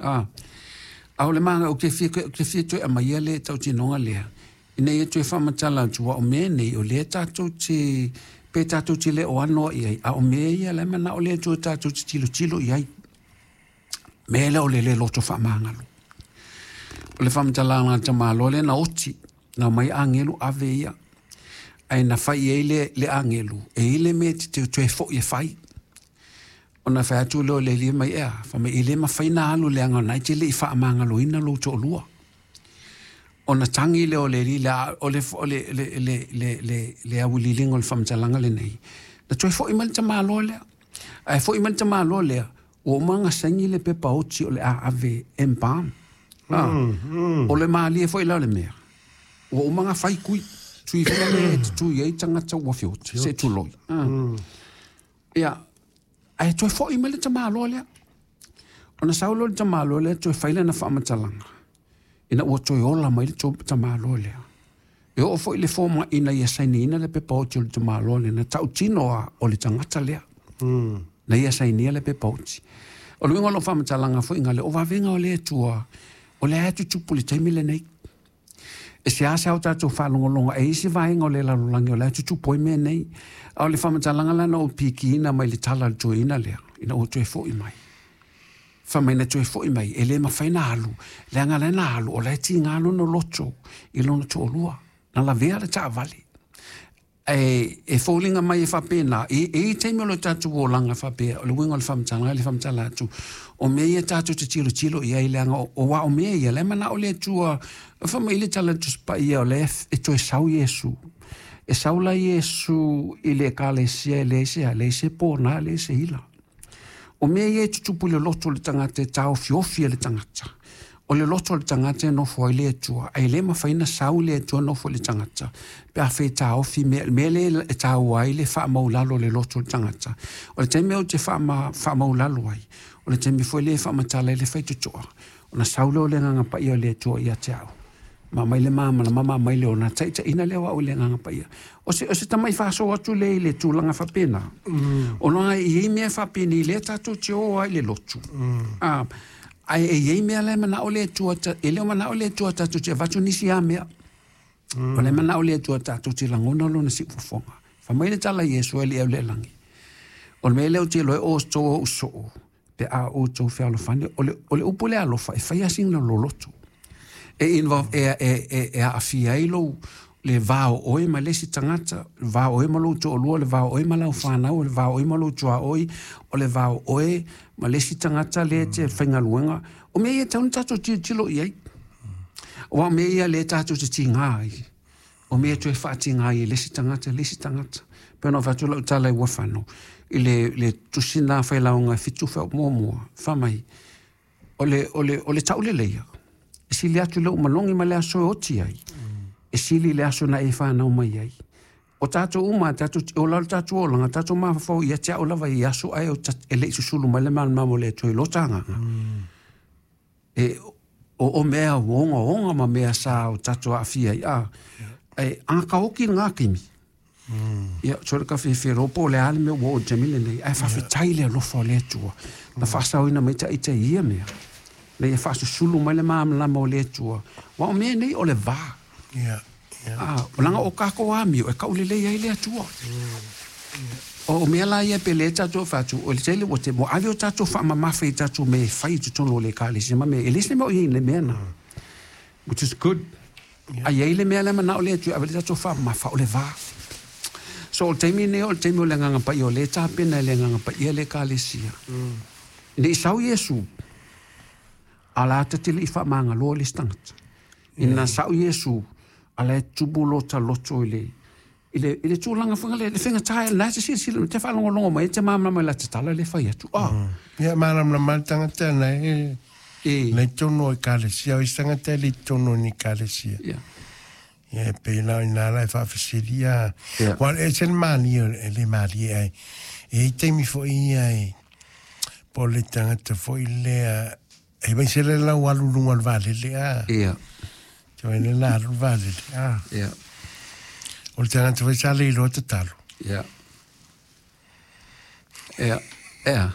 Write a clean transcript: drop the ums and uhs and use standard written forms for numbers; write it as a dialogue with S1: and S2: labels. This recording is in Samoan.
S1: A, a o le maga, ou te fia, ou te fia toe aumaia le tautinoga lea, ina ia toe faamatala atu, aua o mea nei, o lea tatou te, pe tatou te le o ano i ai, a o mea ia la e manao le Atua tatou te tilotilo i ai. Mea lea o le le loto faamagalo. O le faamatalaga a le tamaloa lea na oti, na omai agelu ave ia. Ae na fai i ai le, le agelu, e i ai le mea e te toe foi e fai. Ona fai atu lea o le alii mai, ea, fai mai, e le mafai ona alu leaga o lena e te le i faamagaloina lou toalua. Ona tagi lea o le alii lea, o le, o le, le, le, le, le, le auiliiliga o le faamatalaga lenei, na toe foi mai le tamaloa lea. Ae foi mai le tamaloa lea, ua uma ona saini le pepa oti o le a ave embalm. Ah, O le malie foi la o le mea, ua uma ona fai tui, tui foi lea e tutui ai tagata ua feoti, se tuloi. Ah. Ia, ae toe foi mai le tamaloa lea. Ona sau lea o le tamaloa lea toe fai lana faamatalaga, ina ua toe ola mai le tamaloa lea. E oo foi i le fomai ina ia sainiina le pepa oti o le tamaloa lea, na tautino lava o le tagata lea. Na ia sainia le pepa oti. O le uiga o lau faamatalaga foi gale, o vavega o le Atua, o lea e tutupu i le taimi lenei. E seasea o tatou faalogologo e i ai se vaega o le lalolagi o la e tutupu ai mea nei. A o le faamatalaga la na ou pikiina mai le tala a le toeaina lea, ina ua toe foi mai. Fai mai na toe foi mai, e le mafai ona alu, leaga la na alu, o la e tiga lona loto i lona toalua. Na lavea le taavale. Ae e foliga mai e faapena, e i ai taimi o le tatou olaga faapea, o le uiga o le faamatalaga e le faamatala atu, o mea ia tatou te tilotilo i ai, leaga aua o mea ia, la e manao le Atua, fai mai le tala a le Tusi Paia, o lea e toe sau Iesu. E sau la Iesu i le ekalesia e leai se a, leai se pona, leai se ila. O mea ia e tutupu i le loto o le tagata e taofiofi e le tagata. O le loto o le tagata e nofo ai le Atua, ae le mafai ona sau le Atua nofo i le tagata pe afai e taofi mea, le mea lea e taua ai le faamaulalo o le loto o le tagata. O le taimi ou te faamaulalo ai, o le taimi foi lea e faamatala ai le faitotoa, ona sau lea o le Agaga Paia o le Atua ia te au. Ma aumai le malamalama ma aumai le ona taitaiina lea o au i le Agaga Paia. O se, o se tamai faasoa atu lea i le tulaga faapena. Ona e i ai mea faapenei lea tatou te o ai i le lotu. Ae e i ai mea la e manao le Atua, e le o manao le Atua tatou te avatu nisi a mea. O le manao le Atua tatou te lagona lona siufofoga. Fai mai le tala a Iesu e le au le lagi. O le mea lea ou te iloa e outou ou soo, pe a outou fealofani, o le, o le upu lea alofa, e fai lava sina loloto. E involve, e, e, e, e aafia ai lou, le va o oe ma le isi tagata, le va o oe ma lou toalua, le va o oe ma lau fanau, le va o oe ma lou tuaoi, o le va o oe ma le isi tagata lea e te faigaluega. O mea ia e tatau ona tatou tilotilo i ai. Aua o mea ia lea tatou te tiga ai. O mea e toe faatiga ai e le isi tagata, le isi tagata. Pei ona avatu lau tala i Uafaano, i le, le tusi lena failauga e fitu muamua, fai mai, o le, o le, o le tauleleia, e sili atu le malogi ma le aso e oti ai, e sili le aso na e fanau mai ai. O tatou uma, tatou, o la le tatou olaga, tatou mafaufau ia te au lava i aso ae e le i susulu mai le malamalama o le Atua i lota agaga. E, o, o mea ogaoga ma mea sa o tatou aafia ai, a, e agakaoki lena taimi. Ia, so le ka fiafia po o le a le mea ua oo i le taimi lenei, ae faafetai i le alofa o le Atua, na faasaoina mai ita i ia mea, na ia faasusulu mai le malamalama o le Atua, aua o mea nei o le va. A, leaga o kākou amio e kaulelei ai le Atua. O mea la ia pe le tatou fai atu, o le tele ua te, ua ave o tatou faamamafa i tatou mea e fai i totonu o le ekalesia ma mea, e leai se mea o i ai i le mea na, which is good. A i ai le mea lea manao le Atua e ave le tatou faamamafa, o le va. So o le taimi lenei o le taimi o le Agaga Paia, o lea e tapena e le Agaga Paia le ekalesia. Ne i sau Iesu, a la ta te le i faamagaloa le isi tagata. Ina sau Iesu, a la e tumu lota loto i le, i le, i le tulaga foi lea, le faigata, na te silasila, te faalogologo mai, te malamalama i la te tala le fai atu. Ah.
S2: Ia, malamalama le tagata na e, e. Na i totonu o ekalesia, o isi tagata e le i totonu o ni ekalesia. Ia, e pei la o ina la e faafesili, a. Ua e ese le malie, e le malie ai. E i taimi foi ia e, po o le tagata foi lea, e mai se le lau alu luga o le vaalele, a. Te wai le la alu le vaalele, a. O le tagata foi sa le iloa tatalo.
S1: Ia. Ia. Ia.